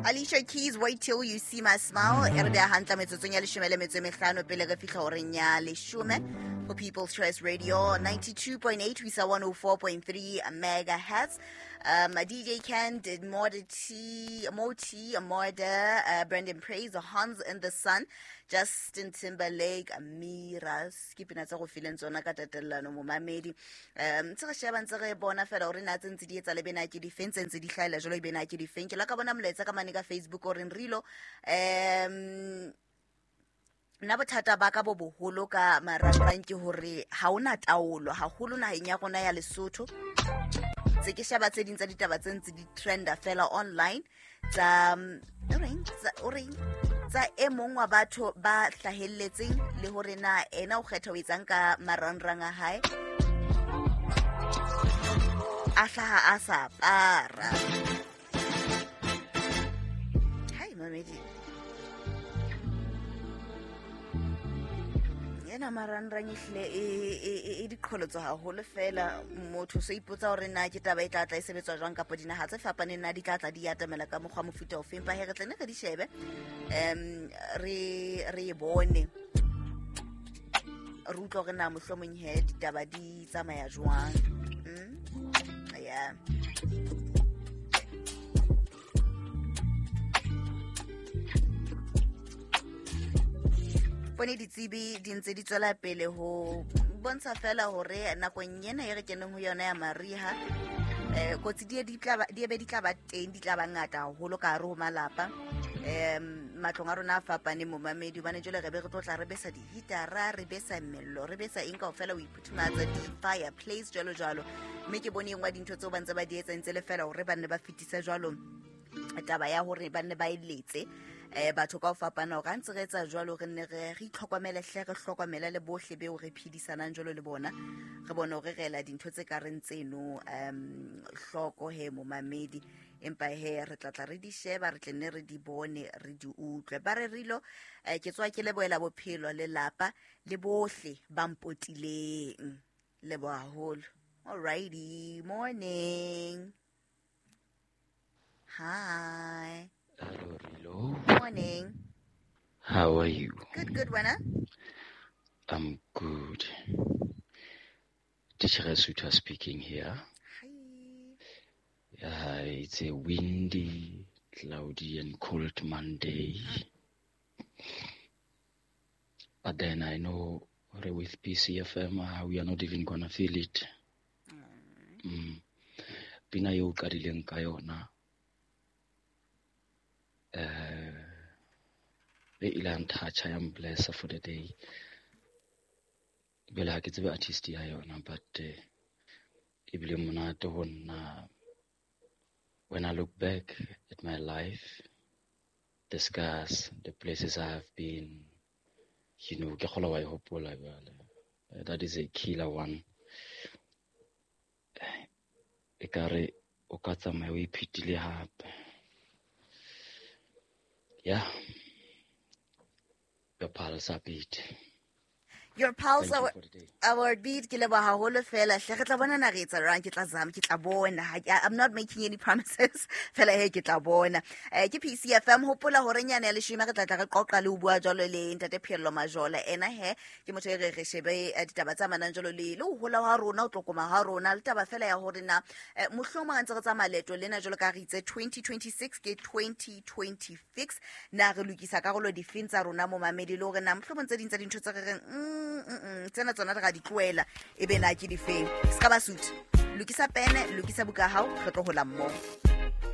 Alicia Keys, Wait Till You See My Smile. E re beha hantle metsotsong ya leshome le metso e mehlano pele re fihla horeng ya leshome ho People's Choice Radio 92.8 ho isa 104.3 megahertz. DJ Ken did more tea, more tea, more Brandon Praise, Hans in the Sun, Justin Timberlake, Miras. Ke pina tsa go fileng tsona ka tatellano momamedi. Ntse re sheba ntse re bona fela hore na tse ntse di etsa le bena ke difeng tse ntse di hlahela jwalo e bena ke difeng. Ke la ka bona molaetsa ka mane ka Facebook o reng Rilo, nna bothata ba ka bo boholo ka marangrang ke hore ha hona taolo haholo naheng ya rona ya Lesotho. Tse ke sheba tse ding tsa ditaba tse ntse di trenda fela online tsa o reng tsa e mong wa batho ba hlahelletseng le hore na ena o kgetha ho etsang ka marangrang a hae, a hlaha a sa apara. Hai mamedi, ena marangrang ehlile e diqholotso haholo fela. Motho so ipotsa hore na ke taba e tla tla e sebetswa jwang kapa dinaha tse fapaneng na di tla tla di atamela ka mokgwa mofuta ofeng. Empa he re tle ne re di shebe, re e bone, re utlwe hore na mohlomong he ditaba di tsamaya jwang. Yeah. Bone ditsebi di ntse di tswela pele ho bontsha fela hore nakong ena e re keneng ho yona ya mariha, kotsi di be di tla ba teng, di tla ba ngata haholo ka hare ho malapa. Matlong a rona a fapaneng momamedi, hobane jwale re be re tlo tla re besa di-heatera, re besa mello, re besa eng kaofela ho iphuthumatsa, di-fireplace jwalo jwalo. Mme ke bone e nngwe ya dintho tseo ba ntse ba di etsa ntse le fela hore ba nne ba fetise jwalo taba ya hore ba nne ba eletse batho ka ho fapana hore ha ntse re etsa jwalo re nne re itlhokomele hle, re hlokomele le bohle beo re phedisanang jwalo le bona, re bone hore re ela dintho tse ka reng tseno hloko he momamedi. Empa he re tla tla re di sheba, re tle nne re di bone, re di utlwe. Ba re Rilo, ke tswa ke lebohela bophelo, lelapa le bohle ba mpotileng. Leboha haholo. Alrighty, morning. Hi. Hello, Rilo. Morning. How are you? Good, good, wena? I'm good. Teacher Suta speaking here. Hi. It's a windy, cloudy and cold Monday. But then I know with PCFM, we are not even gonna feel it. Pina eo qadileng ka yona, e ile ya nthatjha, ya mblessa for the day. Jwale ha ke tsebe artist ya yona, but ebile monate ho nna. When I look back at my life, the scars, the places I have been, you know, ke kgolwa wa e hopola jwale. That is a killer one. Ekare o ka tsamaya o iphetile hape. Yeah. Your pulse are beat. Your pulse Thank you for the day. Our beat. Ke leboha haholo fela hle. Re tla bona na re etsa jwang, ke tla zama, ke tla bona. I'm not making any promises. Fela he ke tla bona. Ke PCFM, hopola hore nyane ya leshome re tla tla re qoqa le ho bua jwalo le Ntate Pheello Majola. Ena he ke motho e re re shebe ditaba tse amanang jwalo le ho hola ha rona, ho tlokoma ha rona, le taba fela ya hore na mohlomong ha ntse re tsamaya leeto lena jwalo ka re itse 2026 ke 2026, na re lokisa karolo difeng tsa rona momamedi, le hore na mohlomong tse ding tsa dintho tse re reng tsena tsona re ra di tlohela, e be na ke difeng. Se ka ba suit, lokisa pene, lokisa buka ya hao, re tlo hola mmoho.